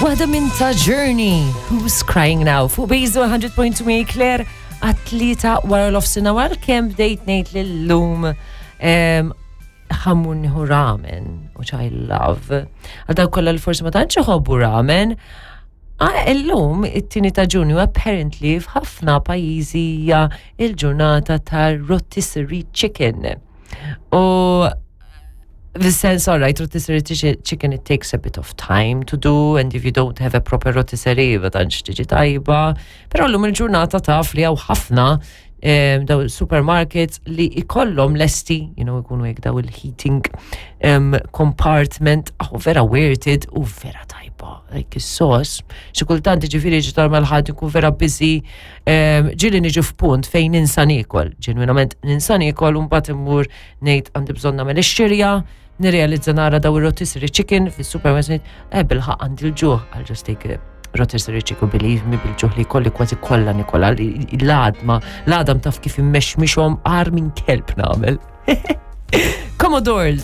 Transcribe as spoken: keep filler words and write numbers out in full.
Waħda minn ta' Journey, Who's Crying Now, fuq Base one hundred point two me Claire, għat-tlieta wara nofsinhar, għalkemm bdejt ngħid li llum ħa mmur nieħu ramen, which I love. Għal dawk kollha li forsi ma tantx iħobbu ramen, ah, illum, it-tieni ta' Ġunju, apparently f'ħafna pajjiżi hija il-ġurnata ta' rotisserie chicken. U the sense, all right, rotisserie chicken, it takes a bit of time to do, and if you don't have a proper rotisserie, ma tantx tiġi tajba. Però llum il-ġurnata taf li hawn ħafna daw supermarkets li ikollhom lesti, you know, ikunu hekk daw il-heating um, compartment, oh, vera worth it u vera tajba. Like is-sos, xi kultant ġifieri ġi mal-ħadd ikun vera busy, um, ġieli niġu f'punt fejn ninsa niekol, ġenwinament ninsa niekol u mbagħad immur ngħid għandi bżonn nagħmel ix-xirja, nirrealizza nara daw ir-rotisserie chicken fis-supermarket, eh bilħaqq għandi l-ġuħ, I'll just take a rotisserie chicken, believe me, bil-ġuħ li kolli kważi kollha nikola, l-għadma, l-għadam taf kif immexmixhom għar minn kelb nagħmel. Commodores.